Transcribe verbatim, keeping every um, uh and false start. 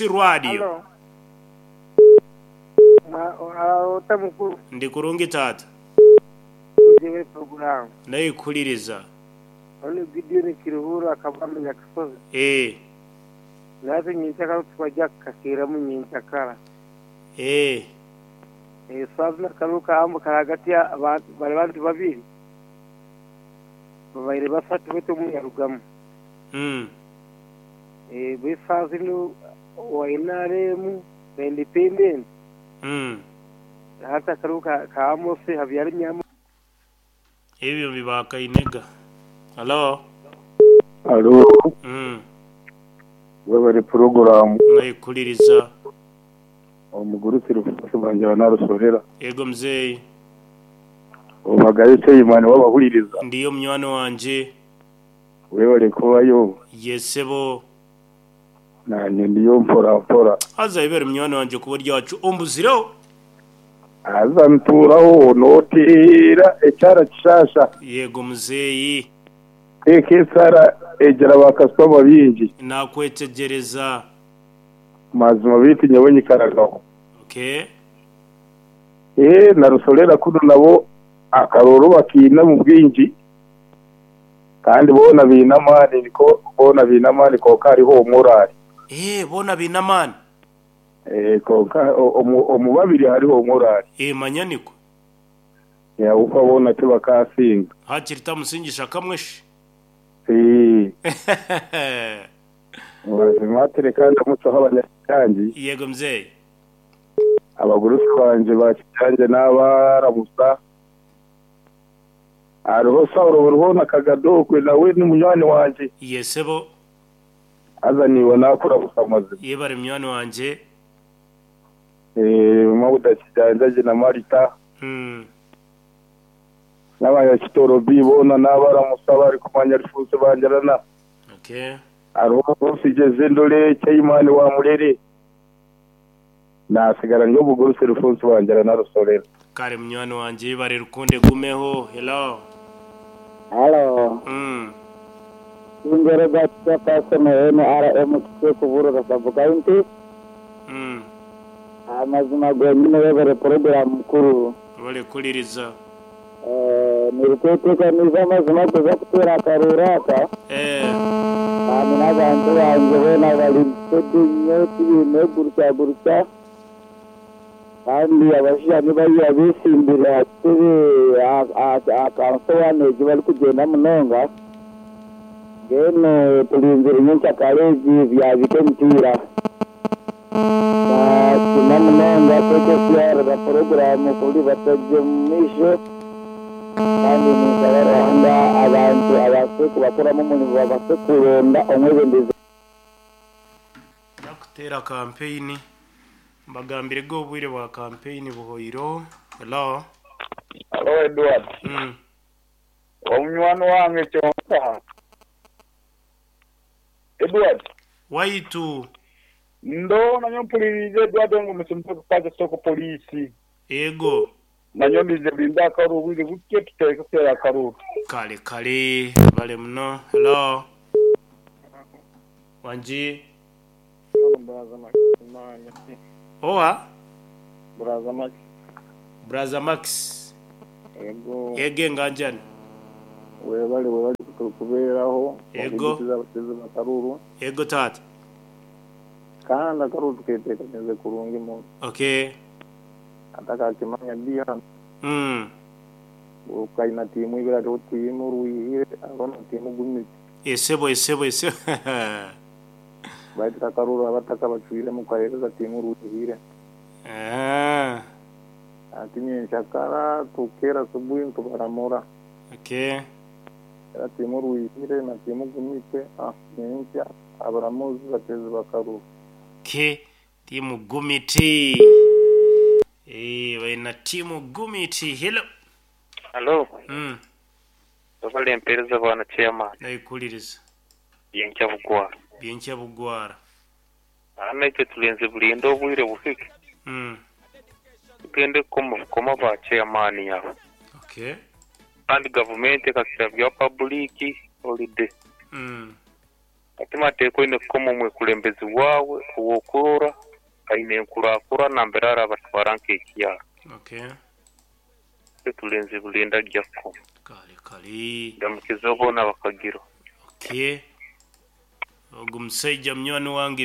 Radio. Halo. Ota mukuru. Ndi kurungi taata. Jewe program. Nayikuliriza. Ono Gideon Kiruhura akabambe Nyakasozi. Eh. Natwe nyenkyakara twajya kukakiramu nyenkyakara. Eh. Eh sazi nakaruka ambuka hagati y'abantu bari bantu babiri. Babaire basatu beto muyarugamu. Mm. Eh besazi no wa N R M na Independent. Mm. Hata karuka ka Amos Habyarimyamo. Ebyo bibakainega. Hello. Alo. Mm. Webale program. Nayikuliriza. Omugurutsi rufusi banje banarusorera. Ego mzeyi. Obagaye Seyimani wabahuliriza. Ndiyo munywani wanje. Webale kubayo. Yesebo. Nanye ndiyo mpora mpora. Aza ibere munywani wanje kuba ryacu ombuzireho. Aza nturaho notira ekyara kishasha. Yego mzeyi. Eke sara ejera bakasoma bingi. Nakwetegereza. Mazima bitu nyawe nyikaragaho. Okay. Eh narusorera kuno nabo akaroro bakina mu bwinji. Kandi bona binamani niko bona binamani ko kariho morali. Eh bona binamani. Eh konka omubabiri hariho morali. Eh manyaniko. Ya uko bona tibakasinga. Hakirita musingisha kamweshi. Eh. Mazima tereka ndamutse abanyakangi. Yego mzee. Abagurusi banje bakijanje n'abaramusa. Ariho Saulo buruhona kagadokwe nawe ni munywani wanje. Yesebo. Azaniwe nakura busamaze. Yebare munywani wanje. Eh mabuda kijanje na Marita. Mm. N'abanya kitoro bibona n'abaramusa bari kumanya rifuse banjarana. Okay. Ariho sigeze ndole cy'Imana wa murere. Nasigara nyo buguruse rufunsi wanjara narusorera. Kare munywani wanje bare rukunde gumeho. Hello. Hello. Mm. Ingero gacha pasoma N R M kike kuburura sabuka inti. Mm. Amazima gwenyine webare program mukuru. Wale kuliriza. Eh nirikuteka niza amazima kuza kutera akaruraka. Eh. Kandi n'abantu banje bona bari nnyo tibine gurutya gurutya. Kandi abasha nibayiya bisimbira tebe akansobanege bari kugenda munonga. Ngeno tulinzira nyenkyakare byabike emipiira. Bakina munonga teke siyarira poroguramu kuri batajje mu maisho. Kandi ninsaba Ruhanga abantu abase kubakoramu omurimo babase kuronda omwebembezi. Nakutera kampeyini. Mbagambire go obwire bwa kampeyini buhoiro. Hello. Hello Edward. Mm. Omunywani wange kyonka. Edward. Waitu. Ndo nanyo mpulirize Edward ngo musimpe kukaza soko polisi. Ego. Nanyo ndize binda akaru bwire buke tuteke kutera akaru. Kale kale bale muno. Hello. Wanji. Braza Max. Owa? Braza Max. Braza Max. Ego. Ege nganjani. Webale webale kubeeraho. Ego. Bakaruru. Ego tata. Kandi akaruru tuketekanirize kurungi mu. Okay. Atakakimanya bia. Mm. Ukaina timu ibira to timu ruihire arono timu gumiti. Esebo esebo esebo. Baitu kakaruru abataka bacwire mu kahereza timu ruihire. Ah. Ati nyenshakara tukera subuhi tubaramura. Okay. Era timu ruihire na timu gumite ah nyencha abaramuzi batezi bakaruru. Okay. Timu gumiti. Eh baina timu gumiti. Hello. Hello. Mm. Tofali mpereza bwana chairman. Nayikuliriza. Byenkya bugwara. Byenkya bugwara. Ana icyo tulenze bulindo obwire buhike. Mm. Tugende koma koma ba chairman yabo. Okay. Kandi government ekakira bya public holiday. Mm. Ati mateeka oine kukoma omwekulembezi waawe ow'okurora aine enkurakurana nambere arabatwara nk'ekyaro. Okay. Tulenzi bulinda jakko. Kale kale. Ndamukiza boona bakagiro. Okay. Ogu musaija munywani wange.